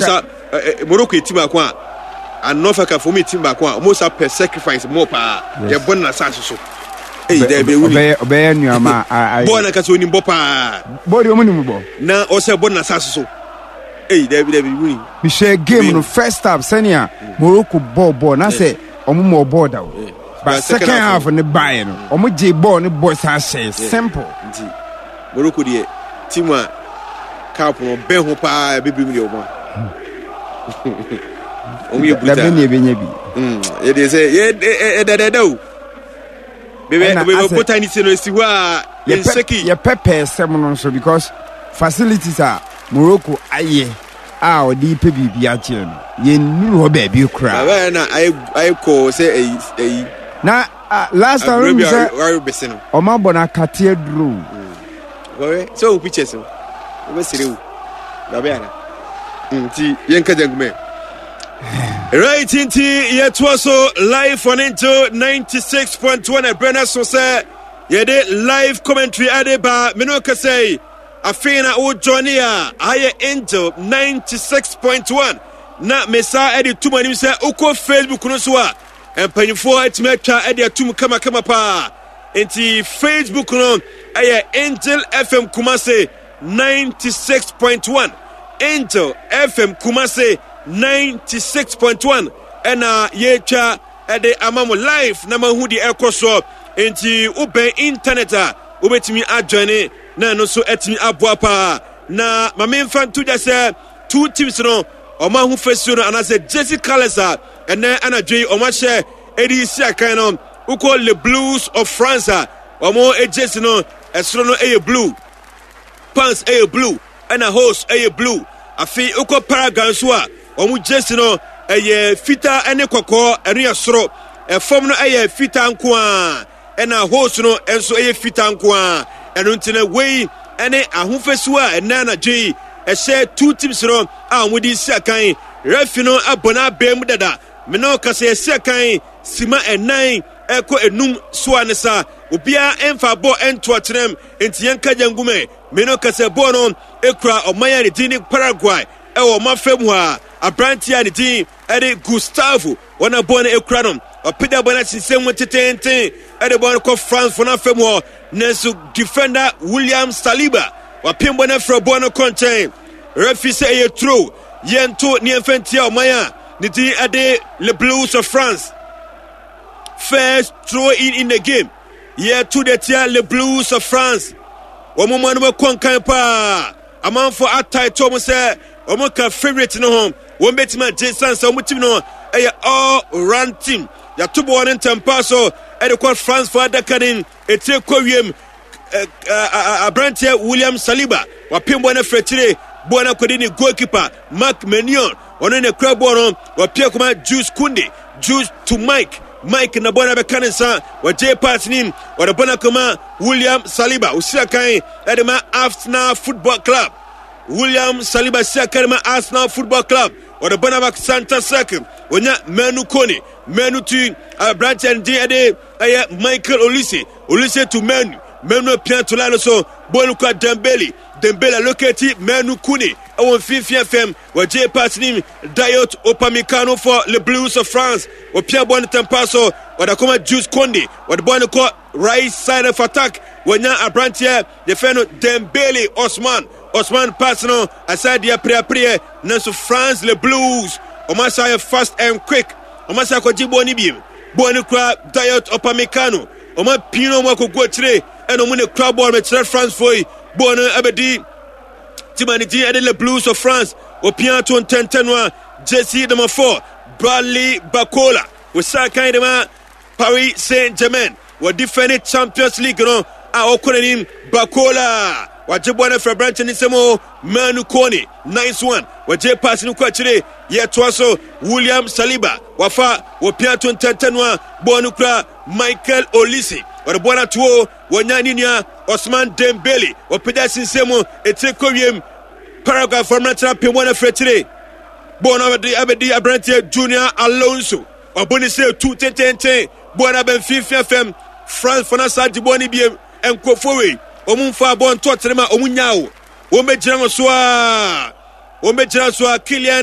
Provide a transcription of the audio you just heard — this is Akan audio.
Sa Morocco yɛ team baako a and North Africa fo wɔn yɛ team baako a wɔn sa pɛ sacrifice more paa. Yɛ bɔ no n'asaase so. Eyi dɛ bɛ wuni. Ɔbɛyɛ ɔbɛyɛ nneɛma a. Bɔɔl na kasa onim bɔ paa. Bɔɔl deɛ wɔn nim bɔ. Na ɔsɛ bɔ no n'asaase so. Eyi dɛ bɛ wuni. Mehwɛ game no first half sɛnea Morocco bɔɔ bɔɔl na sɛ wɔn mɔ bɔɔl da o. But second half ne baeɛ no wɔn gye bɔɔl ne bɔ saa hyɛ simple. Nti Morocco deɛ team a cup no bɛn ho paa bibiri mu deɛ wɔn a wɔn yɛ brutal. Dabe ne ebenya bi. Yɛ deɛ sɛ yɛ ɛdɛdɛdɛ o. Bebe bebe bota ni se no esi hɔ a yɛn seki. Yɛ pɛpɛɛ sɛm no nso because facilities a Morocco ayɛ a ɔde pɛ biribi agyeɛ no yɛnnuru hɔ baabi koraa. Baba yɛ na ayɛ ayɛ kɔɔ sɛ ɛyi ɛyi. Na ah, last time mi sɛ ɔmo abɔ no akate aduro. Wɔyɛ sɛ o pictures no wɔbɛsere o baba yɛ na nti yɛn kɛtɛ nkumɛ. Right nti yɛtoa so live on into 96.1 ɛbrɛ no so sɛ yɛde live commentary ade ba mene ɔkasa yi. Afei na wo joine a, aha yɛ Angel 96.1 na mesa de to mo anim sɛ wokɔ Facebook no so a mpanyinfoɔ atumi atwa de atum kamakama paa. Nti Facebook no ɛyɛ Angel FM Kumase 96.1 Angel FM Kumase 96.1 ɛna yɛtwa ɛde ama mo live na mahu deɛ ɛkɔ soɔ. Nti wobɛn internet a wobɛtumi adjoine na ɛno nso atumi aboa paa. Na ma memfa nto dwa sɛ two teams no wɔn ahofasuo no anaasɛ jersey colours a ɛnɛ anadwo yi wɔn ahyɛ ɛde si akan no, wokɔ Le Blues of France a wɔn jersey no ɛsoro no ɛyɛ blue, pants ɛyɛ blue, ɛna hose ɛyɛ blue. Afei wokɔ Paraguay nso a wɔn jersey no ɛyɛ fitaa ɛne kɔkɔɔ, ɛno yɛ soro, ɛfam no ɛyɛ fitaa nko ara. Ɛna hose no nso yɛ fitaa nko ara. Ɛno nti no, wei ne ahofasuo a ɛnɛ anadwo yi ɛhyɛ two teams no a wɔde si akan. Referee no abɔ n'abɛn mu dada. Me ne ɔkasa yɛsi akan sima ɛnan ɛkɔ enum so a ne sa. Obiara ɛmfa bɔɔl ɛnto akyerɛm nti yɛnka gya ngu mɛ. Me ne ɔkasa bɔɔl no ekura ɔman a ne din ne Paraguay ɛwɔ ɔman fam hɔ a aberanteɛ a ne din ɛde Gustavo Wɔn a bɔne akura no, ɔpagya bɔne asensɛn mu teteenten de bɔne kɔ France fo no afa mu hɔ. Nanso defender William Saliba wapem bɔne afrɛ bɔne no kɔ nkyɛn. Referee sɛ ɛyɛ turo, yɛnto ne yɛmfa ntia ɔman a ne din de Le Blues of France. First throw in the game. Yɛto de tia Le Blues of France. Wɔn mma no bɛkɔ nkan paa. Amanfoɔ atae to wɔn sɛ wɔn ka favourite no ho. Wɔn bɛtumi agye sane sɛ wɔn team no ɛyɛ all round team. Yɛato bɔɔl no ntɛmpa so ɛde kɔ France fo adaka no etire kɔ wiem. Aberanteɛ William Saliba wapem bɔɔl no afiri akyire. Bɔɔl no akɔdi ne goalkeeper Marc Maignan. Ɔno na kura bɔɔl no. Wapia kɔma Jules Kounde. Jules to Mike. Mike na bɔɔl no abɛka ne nsa. Wɔgye pass nim. Wɔde bɔɔl no akɔma William Saliba. Osi akan ɛde ma Arsenal Football Club. William Saliba si akan ma Arsenal Football Club. Wɔde bɔɔl no aba Santa Circle. Onya Manu Kone. Manu tu aberanteɛ no din ɛde ɛyɛ Michael Olise. Olise to Manu. Manu apia to line no so. Bɔɔl no kura Dembele. Dembele aloketi Manu Kone ɛwɔ mfimfini fam. Wɔgye pass nim Dayot Upamecano for Le Blues of France. Wɔpia bɔɔl no tɛmpa so. Wɔde akɔma Jules Kounde. Wɔde bɔɔl no kɔ right side of attack. Wɔnya aberanteɛ yɛfrɛ no Dembele Osman. Osman pass no asan deɛ preapreɛ nanso France Le Blues wɔn asa yɛ fast and quick. Wɔn asa akɔgye bɔɔl no biem. Bɔɔl no kura Dayot Upamecano. Wɔn apin no wɔn akɔgu akyire ɛna wɔn na kura bɔɔl no kyerɛ France foɔ yi. Bɔɔl no abɛdi Tima ne din ɛde Le Blues of France. Opia to ntɛntɛn no a jersey number 4 Bradley Barcola. Wɔsan kan de ma Paris Saint-Germain. Wɔ defending Champions League no a ɔkɔ n'anim. Barcola wagye bɔɔl no afiri aberante ne nsam o. Manu Kone, nice one. Wɔgye pass no kɔ akyire. Yɛtoa so. William Saliba wafa. Wɔpia to ntɛntɛn no a bɔɔl no kura Michael Olise. Wɔde bɔɔl no ato o. Wɔnya ne nua Osman Dembele. Wɔpagya sinsɛn mu, etire kɔ wiem. Paraguay fam no atena pem wɔn afiri akyire. Bɔɔl no abɛdi abɛdi aberanteɛ Junior Alonso. Ɔbɔ ne sɛ tu tententen. Bɔɔl no aba mfimfini fam. France fo no asa agye bɔɔl no biem. Nkurɔfoɔ wei, wɔn mfa bɔɔl nto ɔtene ma wɔn nyaa o. Wɔn bɛgyina wɔn so a. Wɔn bɛgyina so a Kylian